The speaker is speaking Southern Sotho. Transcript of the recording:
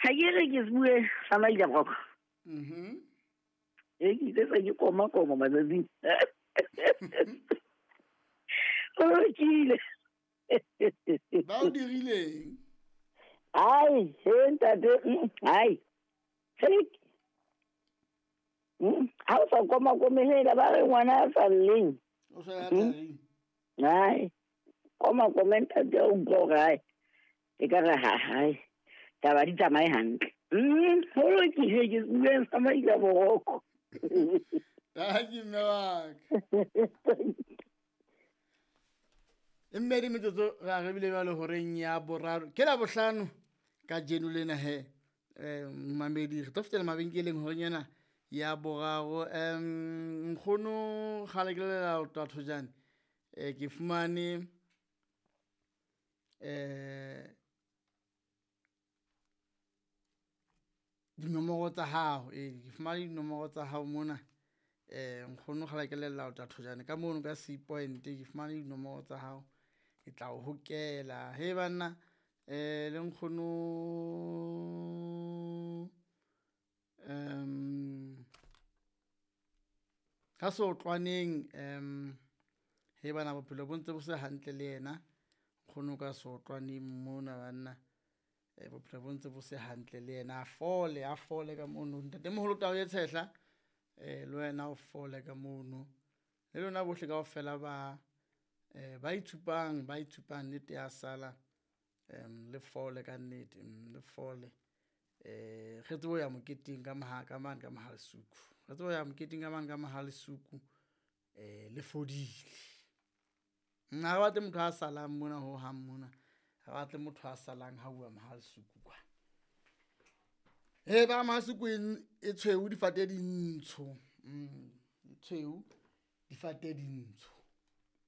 Ha ke re ke bue sa maila broko. E ke ile se ke koma koma matsatsing. O lokile. Ba o dirileng? Ai, he ntate, ai. He. Ha o sa koma kome hela ba re ngwana a sa lleng. O sa ya tlaring. Ai. Koma kome ntate o utlwa hore ai. E ka re ha hai. Taba di tsamaye hantle. Ho lokile ke bueng sa maila boroko. Tanki mme wa ka. E mmedi metsotso re a rebile jwale horeng ya boraro ke la bohlano ka jeno lena he momamedi re tlo fetela mabenkeleng horeng ena ya boraro. Nkgono kgale ke lela ho thojane ke fumane dinomoro tsa hao, ke fumane dinomoro tsa hao mona. Nkgono kgale ke lella ho thojane ka mono ka C point, ke fumane dinomoro tsa hao, ke tla o hokela. He banna le nkgono ka sotlwaneng he bana bophelo bo ntse bo se hantle le yena nkgono ka sotlwaneng mona banna. Bophelo bo ntse bo se hantle le yena, a fole ka mono. Ntatemoholo tao e tshehla le wena o fole ka mono, le lona bohle kaofela ba ba itshupang nnete ya sala le fole ka nnete, le fole. Re tsebe ho ya moketeng ka ka mane ka Mohalesuku, re tsebe ho ya moketeng ka mane ka Mohalesuku le fodile. Ha re batle motho a salang mona ho hang mona, ha batle motho a salang ha uwa Mohalesuku kwa. Ba Mohalesuku e tshweu difate dintsho, e tshweu difate dintsho.